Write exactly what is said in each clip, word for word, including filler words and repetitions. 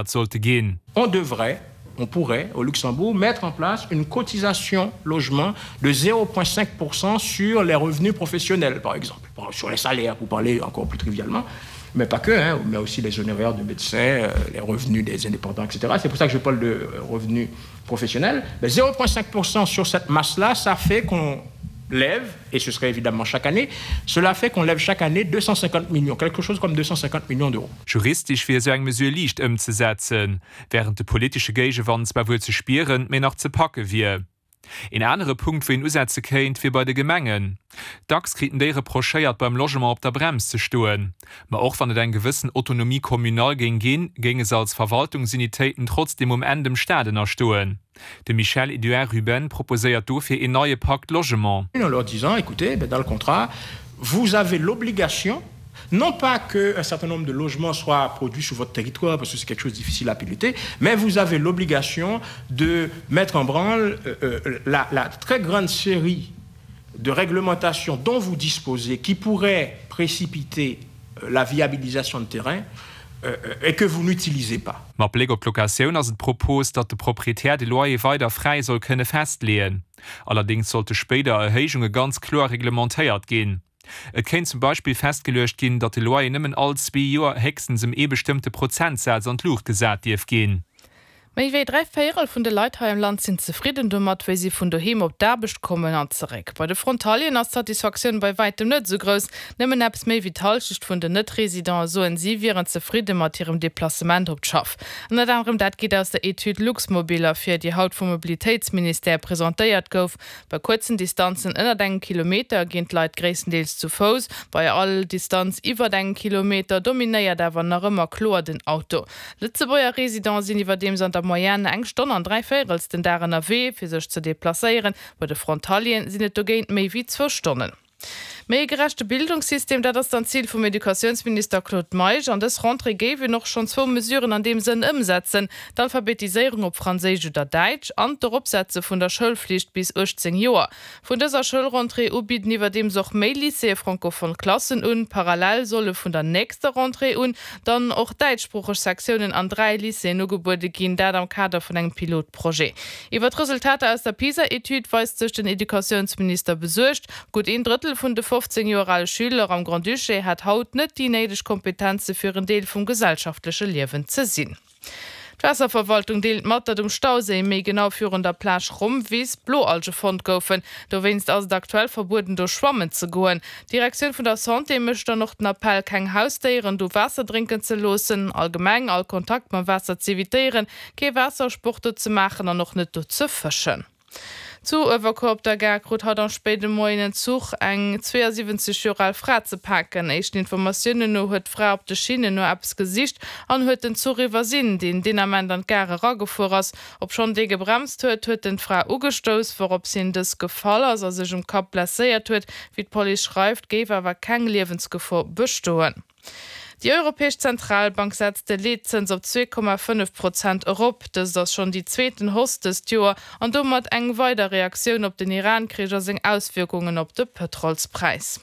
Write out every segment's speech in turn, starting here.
sollte ginn. On devrait, on pourrait au Luxembourg mettre en place une cotisation logement de zéro point cinq pour cent sur les revenus professionnels, par exemple, sur les salaires, pour parler encore plus trivialement, mais pas que, hein, mais aussi les honoraires de médecins, euh, les revenus des indépendants, et cetera. C'est pour ça que je parle de revenus professionnels. Mais zéro point cinq pour cent sur cette masse-là, ça fait qu'on lève, et ce serait évidemment chaque année, cela fait qu'on lève chaque année deux cent cinquante millions, quelque chose comme deux cent cinquante millions d'euros. Juristesch wier esou eng Mesure liicht ëmzesetzen, während de politesche Géigewand zwar wuel ze spieren, mee nach ze packe wier. Een anere Punkt, wou een usetze kéint, wier bei de Gemengen. Dacks kriten déi reprochéiert, beim Logement op der Brems ze stoen. Ma och wann et eng gewëssen Autonomie communale géing ginn, géinge se als Verwaltungsunitéiten trotzdem um Enn dem Staat ënnerstoen. De Michel-Edouard Ruben proposéiert dofir een neie Pacte Logement. En leur disant, écoutez, ben, dans le contrat, vous avez l'obligation, non pas qu'un certain nombre de logements soient produits sur votre territoire, parce que c'est quelque chose de difficile à piloter, mais vous avez l'obligation de mettre en branle, euh, euh, la, la très grande série de réglementations dont vous disposez, qui pourraient précipiter, euh, la viabilisation de terrain, euh, euh, et que vous n'utilisez pas. Mat Bléck op d'Locatioun ass et d'Propos, datt de Proprietär de Loyer weider fräi soll kënne festleeën. Allerdéngs sollte spéider Erhéijunge ganz kloer reglementéiert ginn. Et kéint zum Beispill festgeluecht ginn, datt de Loyer nëmmen all zwee Joer héchstens ëm ee bestëmmte Prozentsaz an d'Luucht gesat dierf ginn. Méi wéi dräi Véierel vun de Leit hei am Land sinn zefridden domat, wéi si vun doheem op d'Aarbecht kommen an zeréck. Bei de Frontalieren ass d'Satisfaktioun bei wäitem net esou grouss. Nëmmen eppes méi wéi d'Hallschecht vun den Net-Residenten soen, si wieren zefridde mat hirem Deplacement op d'Schaff. Ënnert anerem dat geet aus der Etüd Luxmobil ervir, déi haut vum Mobilitéitsministère presentéiert gouf. Bei kuerzen Distanzen ënnert engem Kilometer ginn d'Leit gréisstendeels zu Fouss. Bei all Distanz iwwer engem Kilometer dominéiert awer nach ëmmer kloer den Auto. Lëtzebuerger Residenten sinn iwwerdeems an der Moyenne eng Stonn an dräi Véirels den Dag ënnerwee, fir sech ze deplacéieren. Bei de Frontalieren sinn et dogéint méi wéi zwou Stonnen. Méi e gerechte Bildungssystem, dat ass dann d'Zil vum Educatiounsminister Claude Meisch. An dës Rentrée géif een och schonn zwou Mesuren an deem Sënn ëmsetzen: d'Alphabetiséierung op Franséisch oder Däitsch an d'Eropsetze vun der Schoulflicht bis uechtzéng Joer. Vun dëser Schoulrentrée u bidden iwwerdeems och méi Lycéeë francophone Klassen un. Parallel solle vun der nächster Rentrée un dann och däitschsproocheg Sektiounen an dräi Lycéeën ugebuede ginn, dat am Kader vun engem Pilotprojet. Iwwer d'Resultater aus der PISA-Etüd weist sech den Educatiounsminister besuergt. Gutt een Drëttel vun de fofzéng Joer ale Schüler am Grand-Duché hätt haut net déi néideg Kompetenze fir en Deel vum gesellschaftleche Liewen ze sinn. D'Waasserverwaltung deelt mat, datt um Stauséi, méi genau virun der Plage Rommwiss, Bloalge fonnt goufen. Dowéinst ass et aktuell verbueden, do schwammen ze goen. D'Direktioun vun der Santé mécht dann och den Appell, keng Hausdéieren do Waasser drénken ze loossen, allgemeng all Kontakt mam Waasser z'evitéieren, kee Waassersport do ze maachen an och net do ze fëschen. Zu Uewerkuer op der Gare krut haut am spéide Moien en Zuch eng zweeësiwwenzeg Joer al Fra ze paken. Éischten Informatiounen no huet d'Fra op de Schinnen no eppes gesicht an huet den Zuch iwwersinn, deen deen Ament an d'Gare eragefuer ass. Obschonn dee gebremst huet, huet en d'Fra ugestouss, wourops hien dës gefall ass a sech um Kapp blesséiert huet. Wéi d'Police schreift, géif awer keng Liewensgefor bestoen. Déi Europäesch Zentralbank setzt de Leetzëns op zwee Komma fënnef Prozent erop. Dëst ass schonn déi zweeten Hausse dëst Joer an domat eng weider Reaktioun op den Iran-Krich a seng Auswierkungen op de Pëtrolspräis.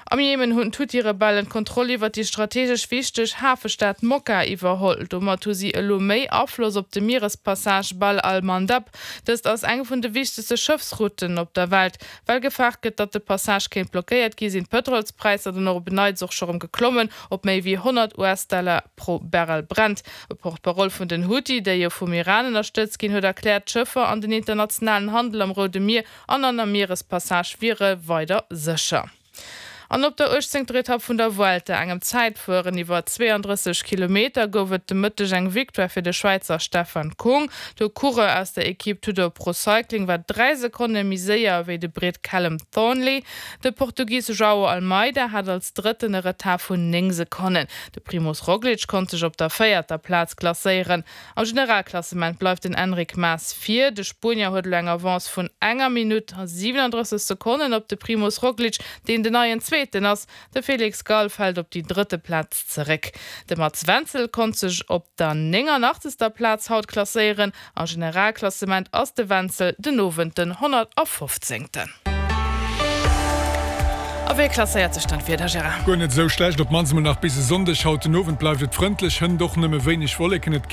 Am Jemen hunn d'Huthi-Rebellen d'Kontroll iwwer déi strategesch wichteg Hafestad Mokka iwwerholl. Domat hu si elo méi Afloss op de Mierespassage Bab al-Mandab. Dëst ass eng vun de wichtegste Schëffsrouten op der Welt. Well gefaart gëtt, datt de Passage kéint blockéiert gi, sinn d'Pëtrolspräisser dann och op en Neits och scho rëm geklommen op méi wéi honnert U S-Dollar pro Barrel Brent. E Porte-parole vun den Huthi, déi jo vum Iran ënnerstëtzt ginn, huet erkläert, d'Schëffer an den internationalen Handel am Roude Mier an an der Mierespassage wiere weider sécher. An op der uechtzéngter Etapp vun der Vuelta, engem Zäitfueren iwwer zweeëndrësseg Kilometer, gouf et de Mëtteg eng Victoire fir de Schwäizer Stefan Kung. De Coureur aus der Equipe Tudor Pro Cycling war dräi Sekonne méi séier wéi de Brit Callum Thornley. De Portugis João Almeida hat als Drëtten e Retard vun néng Sekonnen. De Primož Roglič konnt sech op der véierter Plaz klasséieren. Am Generalklassement bleift den Enric Mas vir. De Spuenier huet elo eng Avance vun enger Minutt a siewenunddrësseg Sekonnen op de Primož Roglič, deen den neien Zweeten ass. De Felix Gall fält op déi drëtte Plaz zeréck. De Mats Wenzel konnt sech op der néngeenachtzegster Plaz haut klasséieren. Am Generalklassement ass de Wenzel den Owend den honnertfofzéngten. A wéi klasséiert sech dann d'Wieder, Gérard? Guer net sou schlecht, op mannst mol nach bis e Sonndeg. Haut den Owend bleift et frëndlech, hënt och nëmme wéineg Wolleken. Et